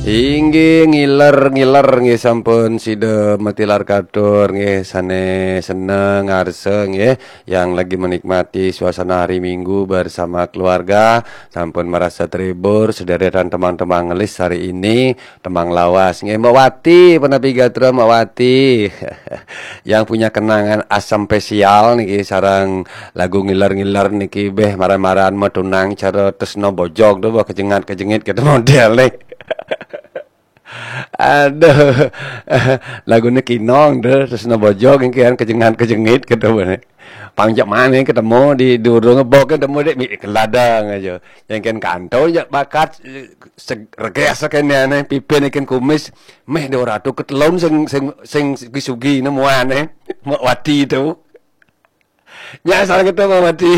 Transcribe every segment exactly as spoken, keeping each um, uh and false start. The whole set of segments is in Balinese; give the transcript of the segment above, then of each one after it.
Inggih, ngiler-ngiler nggih, sampun sida matilar katur nggih, sane seneng ngarsa nggih, yang lagi menikmati suasana hari Minggu bersama keluarga, sampun merasa terhibur, sederetan tembang-tembang ngelis hari ini, tembang lawas nggih, Mbok Wati, punapi gatra Mbok Wati. Yang punya kenangan asam spesial niki sareng lagu ngiler-ngiler niki, beh, maran-maran matunang cara tresna bojog tu, bah, kejengat-kejengit kata model ni. Aduh. Lagu ni kinong tu, tresna bojog niki kan kejengat-kejengit kata ni. Pang jak mana ketemu di durung bok ketemu dek mi keladang aja. Yang kan kantor jak bakat, eh, seg-, reges kene ni, pipin ikan kumis, meh dua ratus ketelun sing, sing, sing sugi-sugi nemuan ni. Mak Wati tu. Nya salah kata Mak Wati.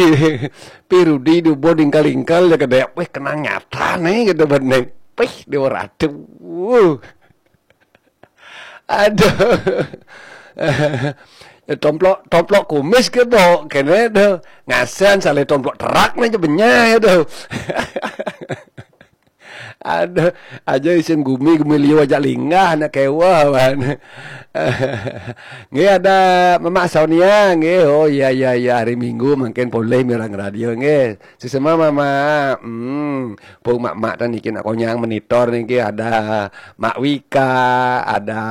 Pi Rudi dubo dingkal-dingkal dia kedek. Weh, kenang nyata ni kata bening. Pih, dua ratus. Aduh. Ya, tomplok, tomplok kumis ke bok kene tu. Ngasan salah tomplok terak ni je benyai tu. Aduh, aja isin gumi, gumi liu aja linggah nak kewa wan. Nggih, ada Mama Sonia nggih. Oh, iya, iya, iya, hari Minggu mungkin boleh mirang radio nggih. Sesama Mama. Hmm, pun mak-mak tu niki nak konyang monitor niki, ada Mak Wika, ada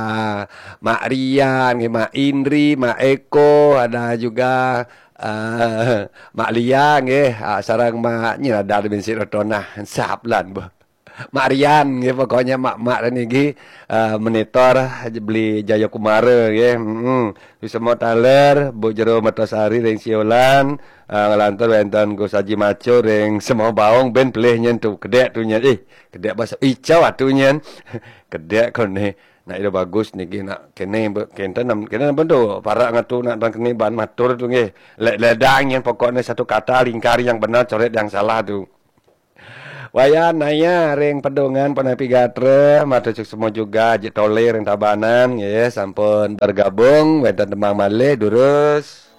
Mak Rian nggih, Mak Indri, Mak Eko, ada juga, eh, Mak Lia nggih, ah, sareng Mak Nyirada bin Sik Rotonah. Sap lan, boh. Mak Rian nggih, pokoknya mak-mak niki, eh, monitor beli Jayakumara nggih. Heeh. Semua taler, Bu Jero Mertasari ring Siolan, eh, ngelantur wenten Gus Haji Maco ring Semua Baung, ben pelih nyen tu, kedek tu nyen. Ih, kedek bahasa icau atu nyen. Kedek kone. Nak ida bagus niki, nak kene be-, kenten nam-, kene nam tu, para ngatu nak dan kene ban matur tu nggih. Le-, ledang nyen pokoknya satu kata lingkar yang benar, coret yang salah tu. Wayan Naya ring Pedungan, punapi gatra, matur suksma juga Haji Tole ring Tabanan nggih, sampun bergabung wenten tembang malih, durus.